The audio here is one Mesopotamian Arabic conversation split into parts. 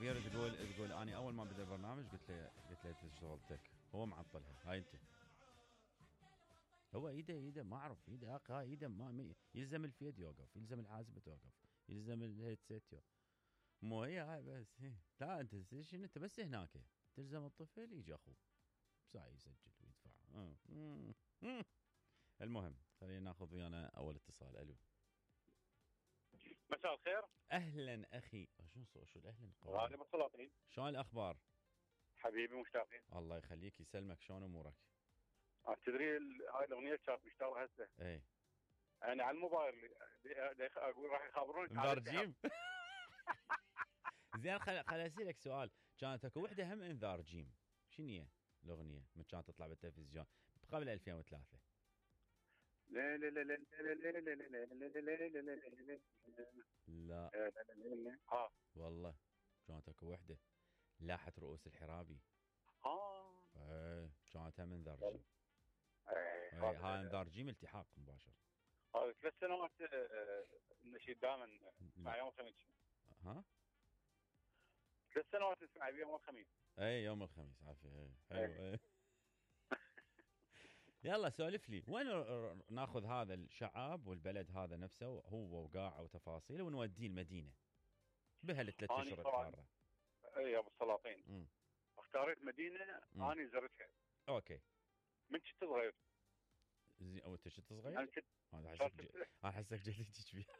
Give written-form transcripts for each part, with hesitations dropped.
عبير تقول اني اول ما بدا البرنامج قلت له انت شغلتك هو معطلها هاي انت. هو ايده ما اعرف ايده اقا ايده ما يلزم الفيد يوقف، يلزم الحاسبه توقف، يلزم الهيدسيت مو هي هاي بس. لا انت شنو انت بس هناك تلزم الطفل يجي اخوه ساعي يسجل ويدفع. المهم خلينا ناخذ ويانا اول اتصال. الو مساء الخير. اهلا اخي. شو الاهلا غالي بالسلاطين. شلون الاخبار حبيبي مشتاقين. الله يخليك يسلمك. شلون امورك؟ تدري هاي الاغنيه كانت مشتاقه هسه. اي انا على الموبايل اقول راح يخبرونك انذار زين خل اسالك سؤال. كانت اكو وحده هم انذار جيم، شنو هي الاغنيه من كانت تطلع بالتلفزيون قبل 2003؟ لا لا لا لا لا لا والله كانت اكو وحده لاحت رؤوس الحرابي. ايه كانت هم انذار جيم. هاي انذار جيم التحاق مباشر. هذا 3 سنوات النشيد دائما مع يوم الخميس. ها 3 سنوات نسمع يوم الخميس. اي يوم الخميس عافيه. حلو. يلا سولف لي وين ناخذ هذا الشعب والبلد هذا نفسه هو وقاعه وتفاصيله ونوديه المدينه بهال3 اشهر الحاره. اي ابو السلاطين اختاريت مدينه اني زرتها. اوكي من كنت صغير. زين او انت كنت صغير؟ انا احسك جديد بيها.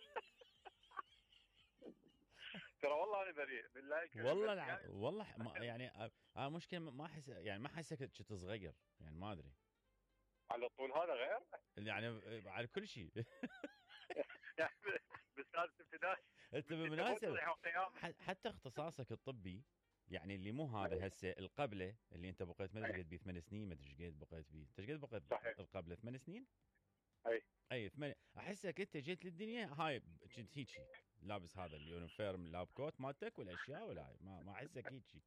ترى والله انا بريء بالله والله والله ما يعني مشكله ما احس يعني ما احسك كنت صغير يعني ما ادري على طول هذا غير يعني على كل شيء. يعني بسادس ابتدائي انت بالمناسبه حتى اختصاصك الطبي يعني اللي مو هذا هسه القبله اللي انت بقيت ما ادري قد 8 سنين ما ادري ايش قد بقيت بيه. انت ايش قد بقيت القبله 8 سنين؟ اي 8. احسك انت جيت للدنيا هاي كنت هيجي لابس هذا اليونيفورم لاب كوت مالتك والاشياء ولا هاي ما احسك هيجي.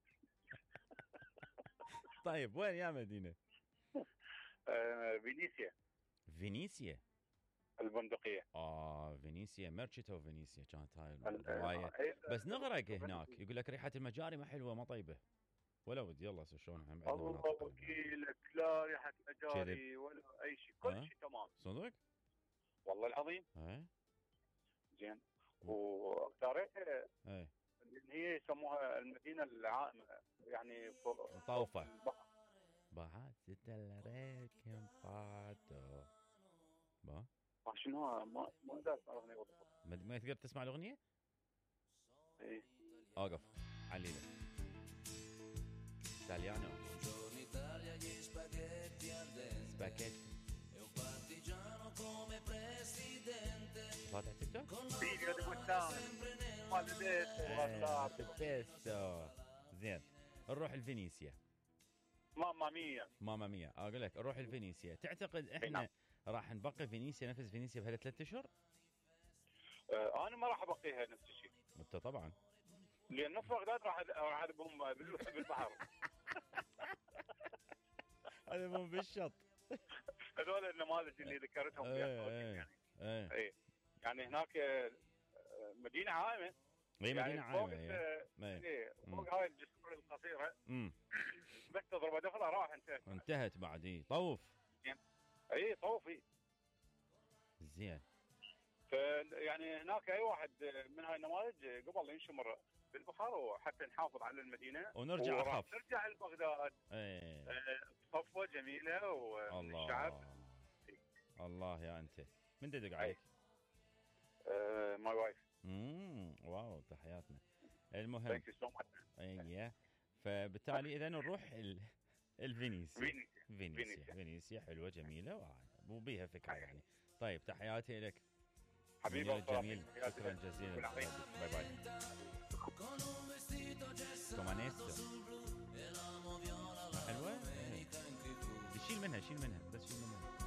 طيب وين يا مدينه؟ فينيسيا البندقيه. فينيسيا ميرشيتو فينيسيا كانت هاي الروايه. بس نغرق هناك يقول لك ريحه المجاري ما حلوه ما طيبه ولا ودي. يلا شلون هم عندنا مناطق وكيلك لا ريحه مجاري ولا اي شيء كل شيء تمام صدق والله العظيم. زين واختاريتها اللي هي يسموها المدينه العائمه يعني طوفه بعد ستلريكم باتو با شنو ما اقدر اسمع الاغنيه بالضبط. ما تقدر تسمع الاغنيه؟ ايه اوقف عليله ايطاليانو سباكيتي طلعت تيك توك فيديو ديبوستان زين نروح لفينيسيا. ماما ميا اقول لك نروح لفينيسيا. تعتقد احنا راح نبقي فينيسيا نفس فينيسيا بهال3 اشهر؟ انا ما راح ابقيها نفس الشيء. انت طبعا لان نص بغداد راح اعربهم بالبحر. اعربهم بالشط. هذول النماذج اللي ذكرتهم يعني هناك مدينه عائمه. مدينه عائمه فوق هاي الجسور القصيره بس تضرب دخله راح انتهت بعد. طوف طوف زين. يعني هناك اي واحد من هاي النماذج قبل ينشمر بالبحر وحتى نحافظ على المدينه ونرجع اخف نرجع لبغداد. صفوه جميله والشعب الله يا انت من دق عليك؟ ماي وايف. واو تحياتنا. المهم فبالتالي اذا نروح فينيسيا حلوه جميله وبيها فكره يعني. طيب تحياتي لك حبيبي جميل. شكرا جزيلا. باي باي. كومانيستو حلوه. شيل منها بس شيل منها.